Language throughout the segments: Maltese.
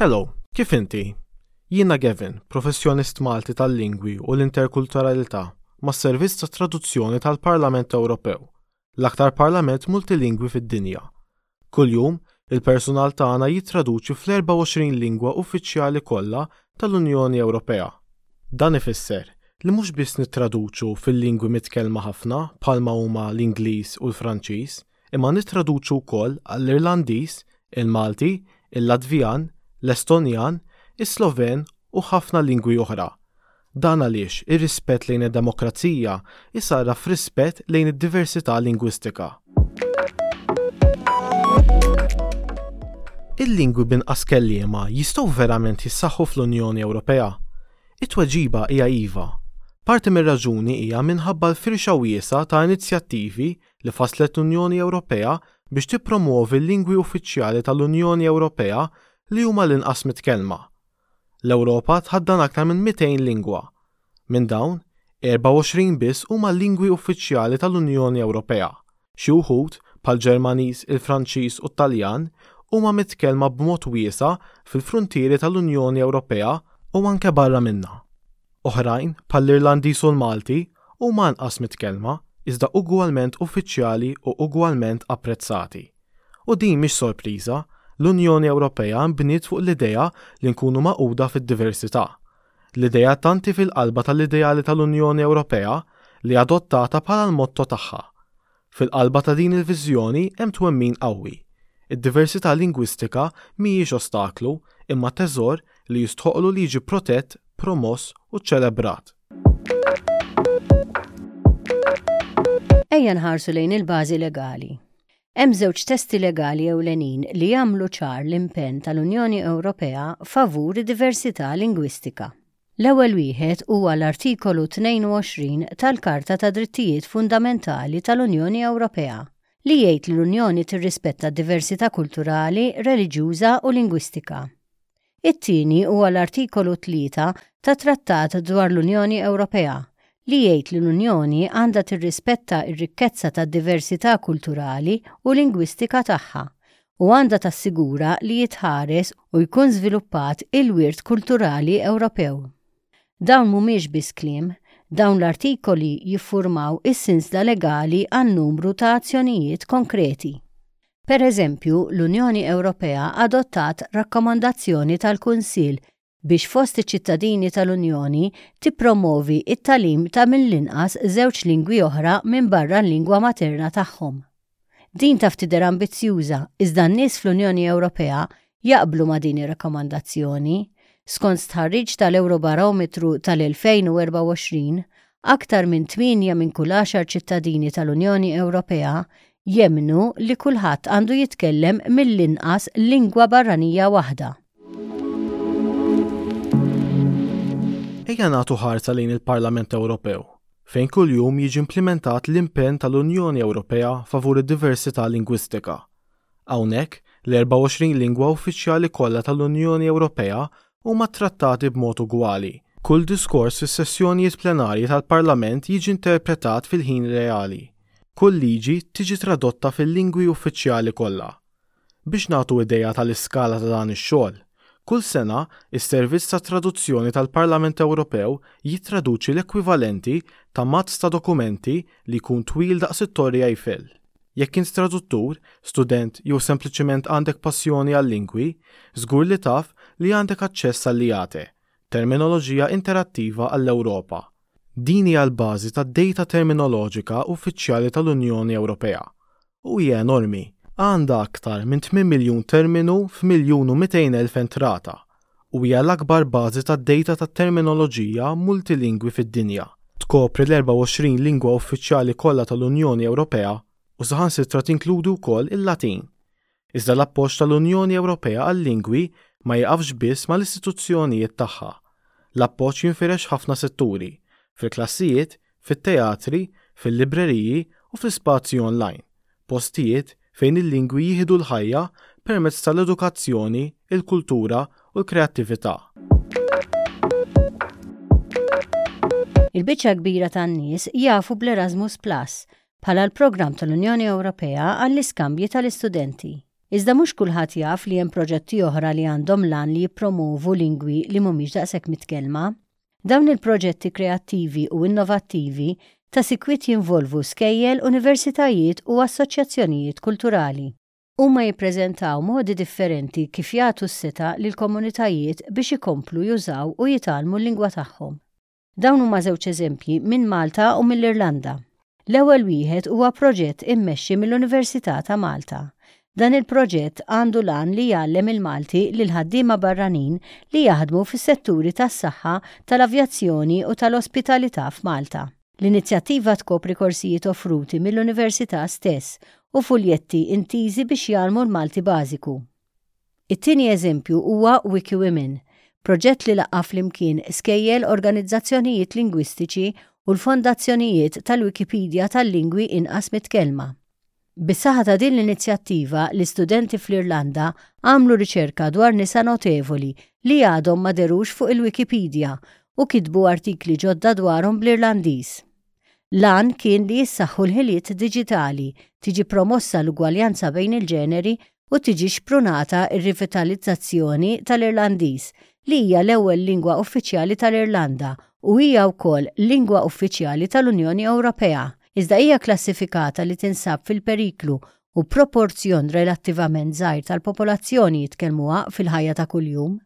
Hello, kif inti? Jiena Gavin, professjonist Malti tal-lingwi u l-interkulturalità mas-Servizz ta' Traduzzjoni tal-Parlament Ewropew, l-aktar parlament multilingwi fid-dinja. Kuljum, il-persunal tagħna jittraduċi fl-24 lingwa uffiċjali kollha tal-Unjoni Ewropea. Dan ifisser li mhux biss nittraduċu fil-lingwi mitkellma ħafna bħalma huma l-Ingliż u l-Franċiż, imma nittraduċu wkoll għall-Irlandiż, il-Malti, il-Latvjan, l-Estonjan, is-Sloven u ħafna lingwi oħra. Dan għaliex ir-rispett lejn id-demokrazija jsarraf f'rispett lejn id-diversità lingwistika. Il-lingwi b'inqas kelliema jistgħu verament jissaħħu fl-Unjoni Ewropea? It-tweġiba hija iva. Parti mir-raġuni hija minħabba l-firxa wiesgħa ta' inizjattivi li fasslet l-Unjoni Ewropea biex tippromwovi l-lingwi uffiċjali tal-Unjoni Ewropea li huma l-inqas mitkellma. L-Ewropa tħaddan aktar minn 200 lingwa. Minn dawn, 24 biss huma lingwi uffiċjali tal-Unjoni Ewropea. Xi wħud, bħall-Ġermaniż, il-Franċiż u t-Taljan, huma mitkellma b'mod wiesa' fil-fruntieri tal-Unjoni Ewropea u anke barra minnha. Oħrajn, bħall-Irlandiż u l-Malti, huma anqas mitkellma, iżda ugwalment uffiċjali u ugwalment apprezzati. U din mhix sorpriża, l-Unjoni Ewropea nbniet fuq l-idea li nkunu magħquda fid-diversità. L-idea tant hi fil-qalba tal-ideali tal-Unjoni Ewropea li adottata bħala l-motto tagħha. Fil-qalba ta' din il-viżjoni hemm twemmin qawwi. Id-diversità lingwistika mhijiex ostaklu, imma teżor li jistħoqqlu li jiġi protett, promoss u ċċelebrat. Ejja nħarsu lejn il-bażi legali. Hemm żewġ testi legali ewlenin li jagħmlu ċar l-impenn tal-Unjoni Ewropea favur id-diversità lingwistika. L-ewwel wieħed huwa l-Artikolu 22 tal-Karta tad-Drittijiet Fundamentali tal-Unjoni Ewropea, li jgħid li l-Unjoni tirrispetta d-diversità kulturali, reliġjuża u lingwistika. It-tieni huwa l-Artikolu 3 tat-Trattat dwar l-Unjoni Ewropea, li jgħid li l-Unjoni għandha tirrispetta r-rikkezza tad-diversità kulturali u lingwistika tagħha u għandha tassigura li jitħares u jkun żviluppat il-wirt kulturali Ewropew. Dawn mhumiex biss kliem, dawn l-artikoli jiffurmaw is-sinsla legali għal numru ta' azzjonijiet konkreti. Per eżempju, l-Unjoni Ewropea adottat Rakkomandazzjoni tal-Kunsill biex fost iċ-ċittadini tal-Unjoni tippromovi t-tagħlim ta' mill-inqas żewġ lingwi oħra minbarra l-lingwa materna tagħhom. Din taf tidher ambizzjuża, iżda n-nies fl-Unjoni Ewropea jaqblu ma' din ir-rakkomandazzjoni. Skont stħarriġ tal-Ewrobarometru tal-2024, aktar minn tmienja minn kull għaxar ċittadini tal-Unjoni Ewropea jemmnu li kulħadd għandu jitkellem mill-inqas lingwa barranija waħda. Ejja nagħtu ħarsa lejn il-Parlament Ewropew, fejn kuljum jiġi implimentat l-impenn tal-Unjoni Ewropea favur id-diversità lingwistika. Hawnhekk, l-24 lingwa uffiċjali kollha tal-Unjoni Ewropea huma ttrattati b'mod ugwali. Kull diskors fis-sessjonijiet plenarji tal-Parlament jiġi interpretat fil-ħin reali. Kull liġi tiġi tradotta fil-lingwi uffiċjali kollha. Biex nagħtu idea tal-iskala ta' dan ix-xogħol, kull sena, is-Servizz tat-Traduzzjoni tal-Parlament Ewropew jittraduċi l-ekwivalenti ta' mazz ta' dokumenti li jkun twil daqs it-Torri Eiffel. Jekk int traduttur, student jew sempliċement għandek passjoni għal-lingwi, żgur li taf li għandek aċċess għall-IATE, Terminoloġija Interattiva għall-Ewropa. Din hija l-bażi tad-dejta terminoloġika uffiċjali tal-Unjoni Ewropea. U hija enormi, għandha aktar minn 8 miljun terminu f'1,200,000 entrata u hija l-akbar bażi tad-dejta tat-terminoloġija multilingwi fid-dinja. Tkopri l-24 lingwa uffiċjali kollha tal-Unjoni Ewropea u saħansitra tinkludi wkoll il-Latin. Iżda l-appoġġ tal-Unjoni Ewropea għal-lingwi ma jiqafx biss mal-istituzzjonijiet tagħha. L-appoġġ jinfirex f'ħafna setturi, fil-klassijiet, fit-teatri, fil-libreriji u fl-ispazji online, postijiet fejn il-lingwi jieħdu l-ħajja permezz tal-edukazzjoni, il-kultura u l-kreattività. Il-biċċa l-kbira tan-nies jafu bl-Erasmus Plus bħala l-programm tal-Unjoni Ewropea għall-iskambji tal-istudenti. Iżda mhux kulħadd jaf li hemm proġetti oħra li għandhom l-għan li jippromovu lingwi li mhumiex daqshekk mitkellma. Dawn il-proġetti kreattivi u innovattivi ta' sikwit jinvolvu skejjel, universitajiet u assoċjazzjonijiet kulturali. Huma jippreżentaw modi differenti kif jagħtu s-setgħa lill-komunitajiet biex ikomplu jużaw u jitgħallmu l-lingwa tagħhom. Dawn huma żewġ eżempji minn Malta u mill-Irlanda. L-ewwel wieħed huwa proġett immexxi mill-Università ta' Malta. Dan il-proġett għandu l-għan li jgħallem il-Malti lill-ħaddiema barranin li jaħdmu fis-setturi tas-saħħa, tal-avjazzjoni u tal-ospitalità f'Malta. L-inizjattiva tkopri korsijiet offruti mill-Università stess u fuljetti intiżi biex jgħallmu l-Malti bażiku. It-tieni eżempju huwa WikiWomen, proġett li laqqa' flimkien skejjel, organizzazzjonijiet lingwistiċi u l-fondazzjonijiet tal-Wikipedia tal-lingwi inqas mitkellma. Bis-saħħa ta' din l-inizjattiva, l-istudenti fl-Irlanda għamlu riċerka dwar nisa notevoli li għadhom ma dherux fuq il-Wikipedia u kitbu artikli ġodda dwarhom bl-Irlandiż. L-għan kien li jissaħħu l-ħiliet diġitali, tiġi promossa l-ugwaljanza bejn il-ġeneri u tiġi xprunata r-rivitalizzazzjoni tal-Irlandiż, li hija l-ewwel lingwa uffiċjali tal-Irlanda u hija wkoll lingwa uffiċjali tal-Unjoni Ewropea, iżda hija kklassifikata li tinsab fil-periklu u proporzjon relattivament żgħir tal-popolazzjoni jitkellmuha fil-ħajja ta' kuljum.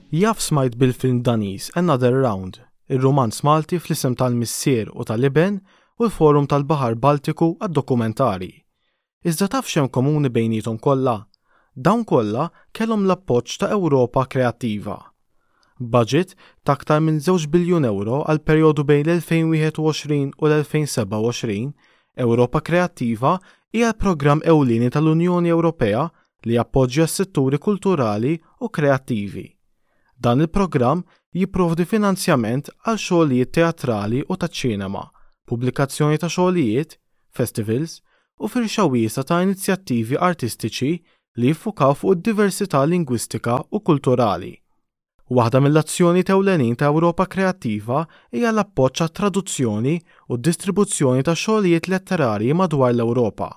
Jaf smajt bil-film Daniż Another Round, ir-rumanz Malti Fl-Isem tal-Missier u tal-Iben u l-Forum tal-Baħar Baltiku għad-Dokumentarji. Iżda taf x'hemm komuni bejniethom kollha? Dawn kollha kellhom l-appoġġ ta' Ewropa Kreattiva. Baġit ta' aktar minn żewġ biljun ewro għall-perjodu bejn l-2021 u l-2027, Ewropa Kreattiva hija l-programm ewlieni tal-Unjoni Ewropea li jappoġġja s-setturi kulturali u kreattivi. Dan il-programm jipprovdi finanzjament għal xogħlijiet teatrali u taċ-ċinema, pubblikazzjoni ta' xogħlijiet, festivals, u firxa wiesgħa ta' inizjattivi artistiċi li jiffukaw fuq id-diversità lingwistika u kulturali. Waħda mill-azzjonijiet ewlenin ta' Ewropa Kreattiva hija l-appoġġ għat-traduzzjoni u d-distribuzzjoni ta' xogħlijiet letterarji madwar l-Ewropa.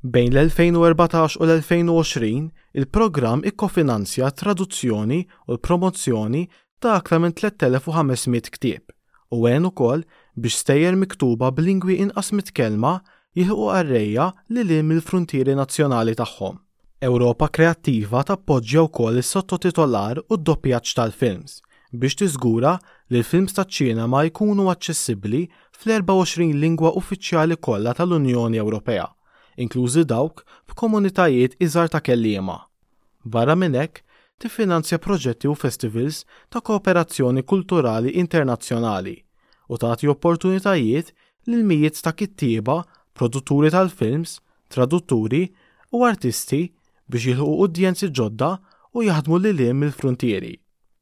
Bejn l-2014 u l-2020, il-programm ikkofinanzja t-traduzzjoni u l-promozzjoni ta' aktar minn 3,500 ktieb u għen ukoll biex stejjer miktuba b'lingwi inqas mitkellma jilħqu qarrejja lil hinn mill-fruntieri nazzjonali tagħhom. Ewropa Kreattiva tappoġġja wkoll is-sottotitolar u d-doppjaġġ tal-films biex tiżgura li l-films taċ-ċinema jkunu aċċessibbli fl-24 lingwa uffiċjali kollha tal-Unjoni Ewropea, inklużi dawk b'komunitajiet iżgħar ta' kelliema. Barra minn hekk, tiffinanzja proġetti u festivals ta' kooperazzjoni kulturali internazzjonali u tagħti opportunitajiet lil mijiet ta' kittieba, produtturi tal-films, tradutturi u artisti biex jilħqu udjenzi ġodda u jaħdmu lil hinn mill-fruntieri.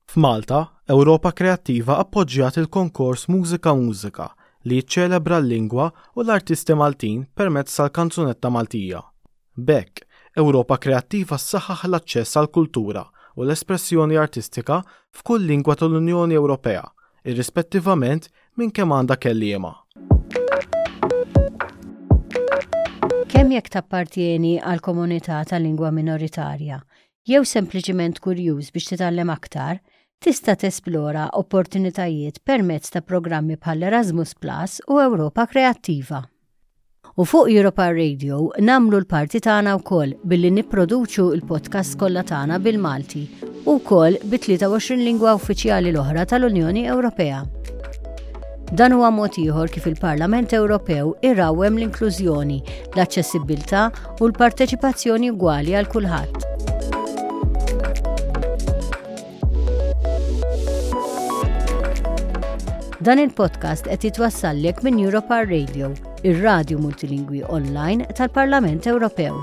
F'Malta, Ewropa Kreattiva appoġġjat il-konkors Mużika Mużika li jiċċelebra l-lingwa u l-artisti Maltin permezz tal-kanzunetta Maltija. B'hekk, Ewropa Kreattiva ssaħħaħ l-aċċess għall-kultura u l-espressjoni artistika f'kull lingwa tal-Unjoni Ewropea, irrispettivament minn kemm għandha kelliema. Kemm jekk tappartjeni għal komunità ta' lingwa minoritarja, jew sempliċiment kurjuż biex titgħallem aktar, tista' tesplora opportunitajiet permezz ta' programmi bħal Erasmus Plus u Ewropa Kreattiva. U fuq Europa Radio nagħmlu l-parti tagħna wkoll billi nipproduċu l-podcasts kollha tagħna bil-Malti u wkoll bi 23 lingwa uffiċjali l-oħra tal-Unjoni Ewropea. Dan huwa mod ieħor kif il-Parlament Ewropew irawwem l-inklużjoni, l-aċċessibbiltà u l-parteċipazzjoni ugwali għal kulħadd. Dan il-podcast qed jitwassallek minn Europa Radio, ir-radju multilingwi online tal-Parlament Ewropew.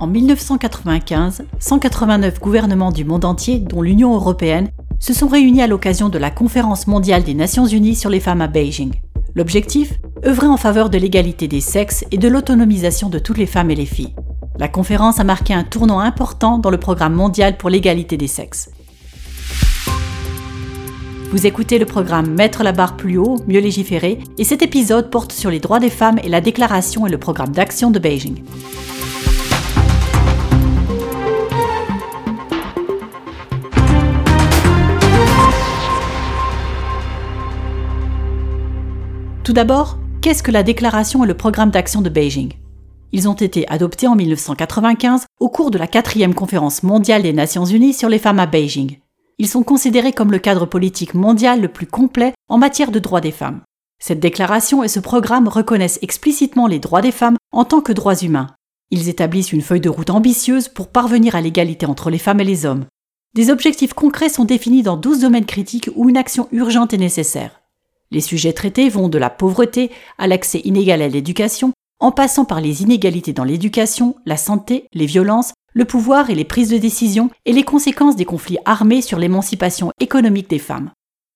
En 1995, 189 gouvernements du monde entier, dont l'Union européenne, se sont réunis à l'occasion de la Conférence mondiale des Nations unies sur les femmes à Beijing. L'objectif Œuvrer en faveur de l'égalité des sexes et de l'autonomisation de toutes les femmes et les filles. La conférence a marqué un tournant important dans le programme mondial pour l'égalité des sexes. Vous écoutez le programme Mettre la barre plus haut, mieux légiférer, et cet épisode porte sur les droits des femmes et la déclaration et le programme d'action de Beijing. Tout d'abord, qu'est-ce que la déclaration et le programme d'action de Beijing Ils ont été adoptés en 1995 au cours de la quatrième conférence mondiale des Nations Unies sur les femmes à Beijing. Ils sont considérés comme le cadre politique mondial le plus complet en matière de droits des femmes. Cette déclaration et ce programme reconnaissent explicitement les droits des femmes en tant que droits humains. Ils établissent une feuille de route ambitieuse pour parvenir à l'égalité entre les femmes et les hommes. Des objectifs concrets sont définis dans 12 domaines critiques où une action urgente est nécessaire. Les sujets traités vont de la pauvreté à l'accès inégal à l'éducation, en passant par les inégalités dans l'éducation, la santé, les violences, le pouvoir et les prises de décision et les conséquences des conflits armés sur l'émancipation économique des femmes.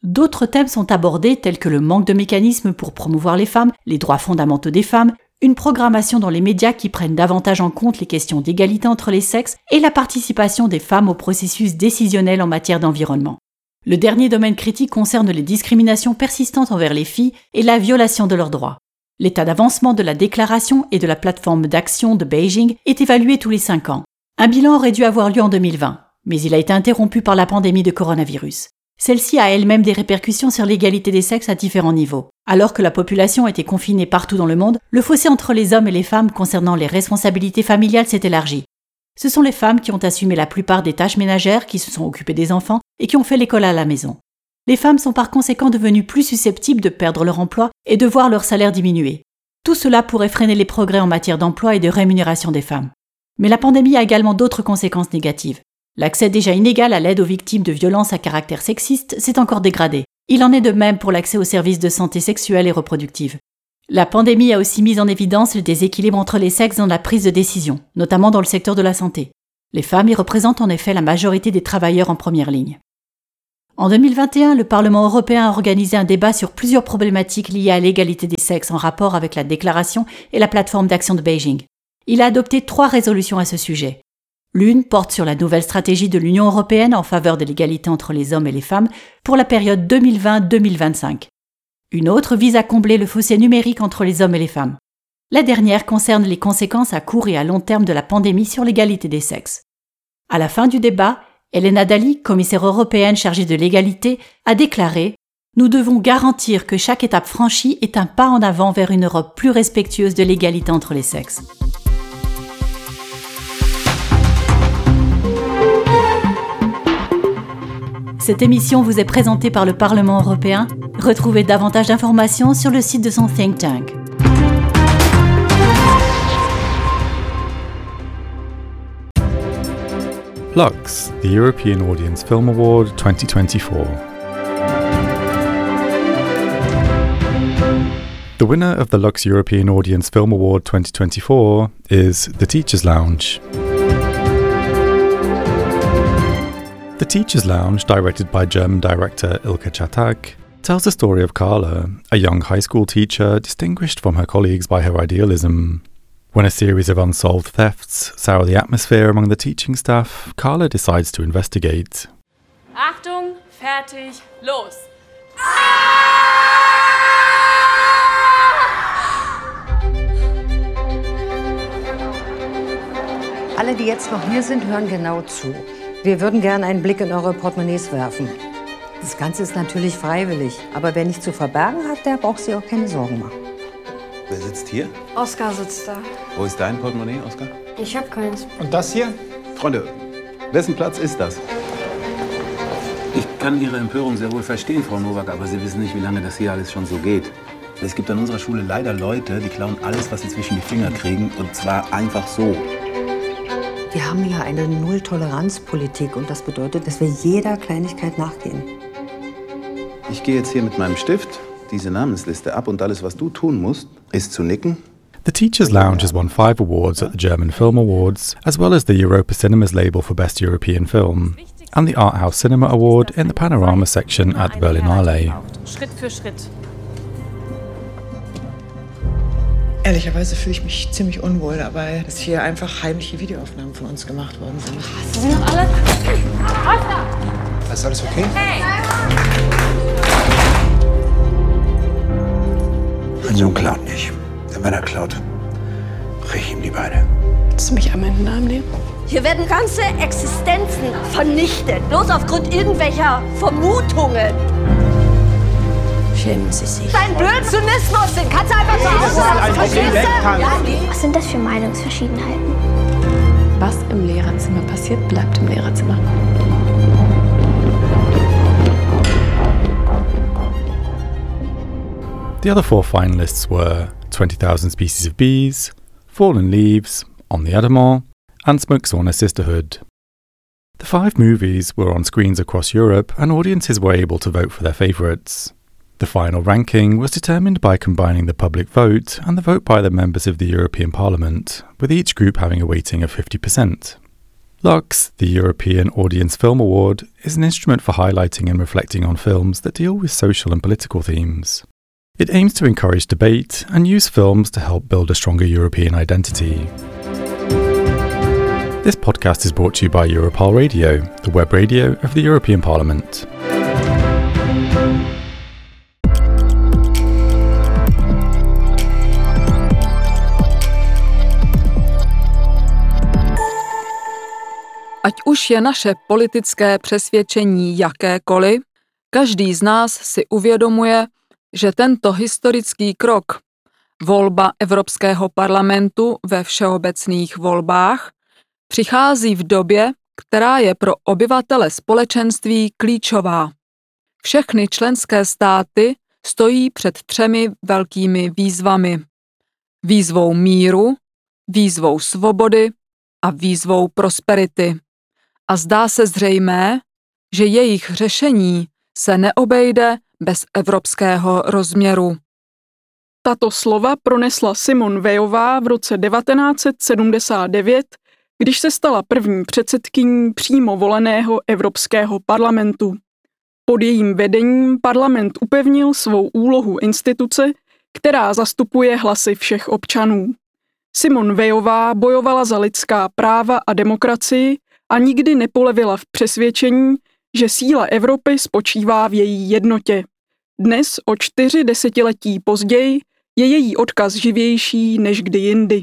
D'autres thèmes sont abordés tels que le manque de mécanismes pour promouvoir les femmes, les droits fondamentaux des femmes, une programmation dans les médias qui prenne davantage en compte les questions d'égalité entre les sexes et la participation des femmes au processus décisionnel en matière d'environnement. Le dernier domaine critique concerne les discriminations persistantes envers les filles et la violation de leurs droits. L'état d'avancement de la déclaration et de la plateforme d'action de Beijing est évalué tous les cinq ans. Un bilan aurait dû avoir lieu en 2020, mais il a été interrompu par la pandémie de coronavirus. Celle-ci a elle-même des répercussions sur l'égalité des sexes à différents niveaux. Alors que la population était confinée partout dans le monde, le fossé entre les hommes et les femmes concernant les responsabilités familiales s'est élargi. Ce sont les femmes qui ont assumé la plupart des tâches ménagères, qui se sont occupées des enfants et qui ont fait l'école à la maison. Les femmes sont par conséquent devenues plus susceptibles de perdre leur emploi et de voir leur salaire diminuer. Tout cela pourrait freiner les progrès en matière d'emploi et de rémunération des femmes. Mais la pandémie a également d'autres conséquences négatives. L'accès déjà inégal à l'aide aux victimes de violences à caractère sexiste s'est encore dégradé. Il en est de même pour l'accès aux services de santé sexuelle et reproductive. La pandémie a aussi mis en évidence le déséquilibre entre les sexes dans la prise de décision, notamment dans le secteur de la santé. Les femmes y représentent en effet la majorité des travailleurs en première ligne. En 2021, le Parlement européen a organisé un débat sur plusieurs problématiques liées à l'égalité des sexes en rapport avec la déclaration et la plateforme d'action de Beijing. Il a adopté trois résolutions à ce sujet. L'une porte sur la nouvelle stratégie de l'Union européenne en faveur de l'égalité entre les hommes et les femmes pour la période 2020-2025. Une autre vise à combler le fossé numérique entre les hommes et les femmes. La dernière concerne les conséquences à court et à long terme de la pandémie sur l'égalité des sexes. À la fin du débat, Elena Dali, commissaire européenne chargée de l'égalité, a déclaré Nous devons garantir que chaque étape franchie est un pas en avant vers une Europe plus respectueuse de l'égalité entre les sexes. Cette émission vous est présentée par le Parlement européen. Retrouvez davantage d'informations sur le site de son think tank. Lux, the European Audience Film Award 2024. The winner of the Lux European Audience Film Award 2024 is The Teacher's Lounge. The Teacher's Lounge, directed by German director Ilka Chatak, tells the story of Carla, a young high school teacher distinguished from her colleagues by her idealism. When a series of unsolved thefts sour the atmosphere among the teaching staff, Carla decides to investigate. Achtung, fertig, los! Alle, die jetzt noch hier sind, hören genau zu. Wir würden gerne einen Blick in eure Portemonnaies werfen. Das Ganze ist natürlich freiwillig, aber wer nichts zu verbergen hat, der braucht sich auch keine Sorgen machen. Wer sitzt hier? Oskar sitzt da. Wo ist dein Portemonnaie, Oskar? Ich hab keins. Und das hier? Freunde, wessen Platz ist das? Ich kann Ihre Empörung sehr wohl verstehen, Frau Nowak, aber Sie wissen nicht, wie lange das hier alles schon so geht. Es gibt an unserer Schule leider Leute, die klauen alles, was sie zwischen die Finger kriegen, und zwar einfach so. Wir haben hier eine Null-Toleranz-Politik und das bedeutet, dass wir jeder Kleinigkeit nachgehen. Ich gehe jetzt hier mit meinem Stift diese Namensliste ab und alles, was du tun musst, ist zu nicken. The Teacher's Lounge has won five awards at the German Film Awards, as well as the Europa Cinemas label for Best European Film, and the Art House Cinema Award in the Panorama section at the Berlinale. Schritt für Schritt. Ehrlicherweise fühle ich mich ziemlich unwohl dabei, dass hier einfach heimliche Videoaufnahmen von uns gemacht worden sind. Hast du sie noch alle? Oskar! Ist alles okay? Hey! Sohn klaut nicht. Denn wenn er klaut, brech ich ihm die Beine. Willst du mich einmal in den Arm nehmen? Hier werden ganze Existenzen vernichtet, bloß aufgrund irgendwelcher Vermutungen. Schämen Sie sich. Dein blöden Zynismus, den kannst du einfach zu Hause lassen, verstehst du? Was sind das für Meinungsverschiedenheiten? Was im Lehrerzimmer passiert, bleibt im Lehrerzimmer. The other four finalists were 20,000 Species of Bees, Fallen Leaves, On the Adamant, and Smoke Sauna Sisterhood. The five movies were on screens across Europe and audiences were able to vote for their favourites. The final ranking was determined by combining the public vote and the vote by the members of the European Parliament, with each group having a weighting of 50%. Lux, the European Audience Film Award, is an instrument for highlighting and reflecting on films that deal with social and political themes. It aims to encourage debate and use films to help build a stronger European identity. This podcast is brought to you by Europarl Radio, the web radio of the European Parliament. Ať už je naše politické přesvědčení jakékoliv, každý z nás si uvědomuje, že tento historický krok, volba Evropského parlamentu ve všeobecných volbách, přichází v době, která je pro obyvatele společenství klíčová. Všechny členské státy stojí před třemi velkými výzvami. Výzvou míru, výzvou svobody a výzvou prosperity. A zdá se zřejmé, že jejich řešení se neobejde bez evropského rozměru. Tato slova pronesla Simone Veillová v roce 1979, když se stala první předsedkyní přímo voleného Evropského parlamentu. Pod jejím vedením parlament upevnil svou úlohu instituce, která zastupuje hlasy všech občanů. Simone Veillová bojovala za lidská práva a demokracii a nikdy nepolevila v přesvědčení, že síla Evropy spočívá v její jednotě. Dnes, o 4 desetiletí později, je její odkaz živější než kdy jindy.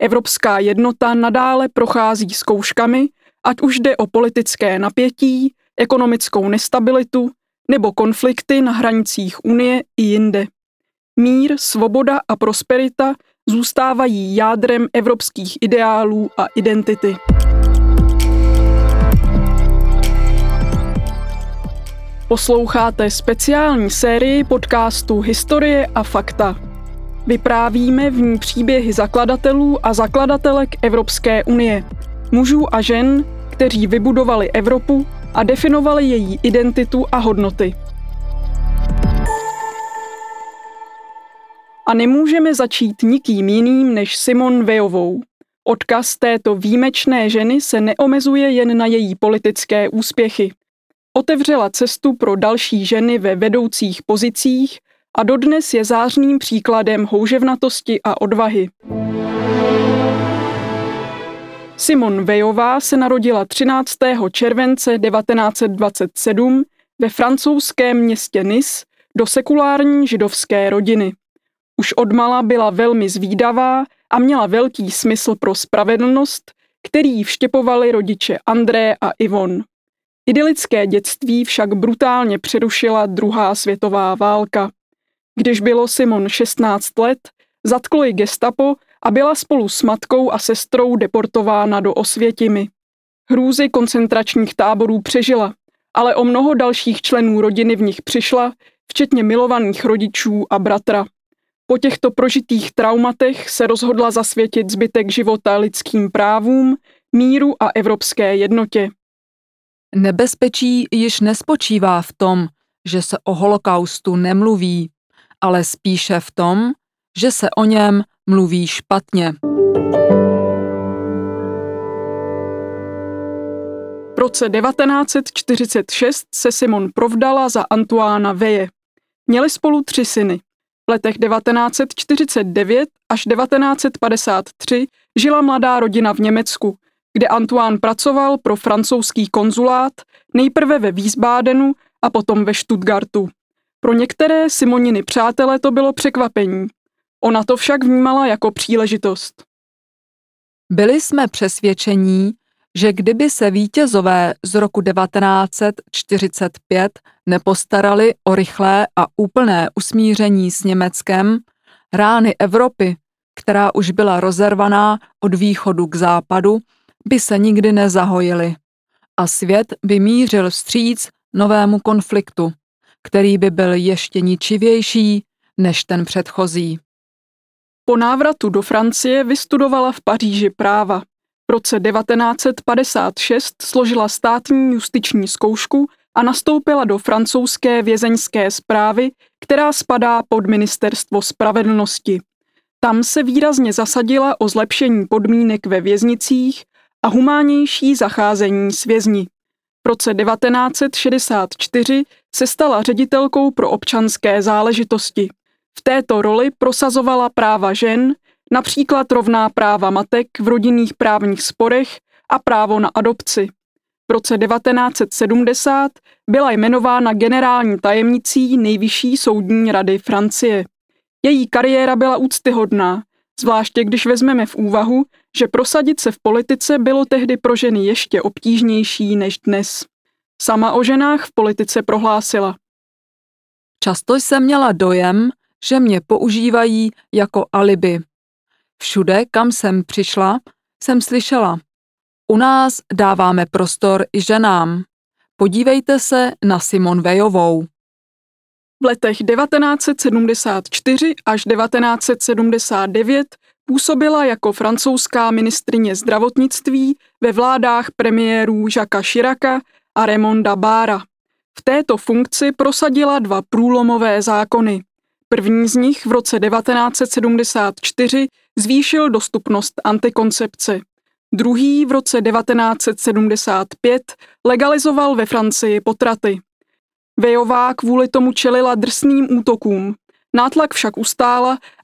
Evropská jednota nadále prochází zkouškami, ať už jde o politické napětí, ekonomickou nestabilitu nebo konflikty na hranicích Unie i jinde. Mír, svoboda a prosperita zůstávají jádrem evropských ideálů a identity. Posloucháte speciální sérii podcastu Historie a fakta. Vyprávíme v ní příběhy zakladatelů a zakladatelek Evropské unie, mužů a žen, kteří vybudovali Evropu a definovali její identitu a hodnoty. A nemůžeme začít nikým jiným než Simone Veillovou. Odkaz této výjimečné ženy se neomezuje jen na její politické úspěchy. Otevřela cestu pro další ženy ve vedoucích pozicích a dodnes je zářným příkladem houževnatosti a odvahy. Simone Veillová se narodila 13. července 1927 ve francouzském městě Nice do sekulární židovské rodiny. Už odmala byla velmi zvídavá a měla velký smysl pro spravedlnost, který jí vštěpovali rodiče André a Yvonne. Idylické dětství však brutálně přerušila druhá světová válka. Když bylo Simone 16 let, zatklo ji gestapo a byla spolu s matkou a sestrou deportována do Osvětimi. Hrůzy koncentračních táborů přežila, ale o mnoho dalších členů rodiny v nich přišla, včetně milovaných rodičů a bratra. Po těchto prožitých traumatech se rozhodla zasvětit zbytek života lidským právům, míru a evropské jednotě. Nebezpečí již nespočívá v tom, že se o holokaustu nemluví, ale spíše v tom, že se o něm mluví špatně. V roce 1946 se Simone provdala za Antoina Veille. Měli spolu 3 syny. V letech 1949 až 1953 žila mladá rodina v Německu, kde Antoine pracoval pro francouzský konzulát, nejprve ve Wiesbadenu a potom ve Stuttgartu. Pro některé Simoniny přátele to bylo překvapení. Ona to však vnímala jako příležitost. Byli jsme přesvědčení, že kdyby se vítězové z roku 1945 nepostarali o rychlé a úplné usmíření s Německem, rány Evropy, která už byla rozervaná od východu k západu, by se nikdy nezahojily a svět by mířil vstříc novému konfliktu, který by byl ještě ničivější než ten předchozí. Po návratu do Francie vystudovala v Paříži práva. V roce 1956 složila státní justiční zkoušku a nastoupila do francouzské vězeňské správy, která spadá pod ministerstvo spravedlnosti. Tam se výrazně zasadila o zlepšení podmínek ve věznicích a humánnější zacházení s vězni. V roce 1964 se stala ředitelkou pro občanské záležitosti. V této roli prosazovala práva žen, například rovná práva matek v rodinných právních sporech a právo na adopci. V roce 1970 byla jmenována generální tajemnicí Nejvyšší soudní rady Francie. Její kariéra byla úctyhodná, zvláště když vezmeme v úvahu, že prosadit se v politice bylo tehdy pro ženy ještě obtížnější než dnes. Sama o ženách v politice prohlásila. Často jsem měla dojem, že mě používají jako alibi. Všude, kam jsem přišla, jsem slyšela. U nás dáváme prostor i ženám. Podívejte se na Simone Veillovou. V letech 1974 až 1979 působila jako francouzská ministryně zdravotnictví ve vládách premiérů Jacquesa Chiraca a Raymonda Barra. V této funkci prosadila dva průlomové zákony. První z nich v roce 1974 zvýšil dostupnost antikoncepce. Druhý v roce 1975 legalizoval ve Francii potraty. Veillová kvůli tomu čelila drsným útokům. Nátlak však ustála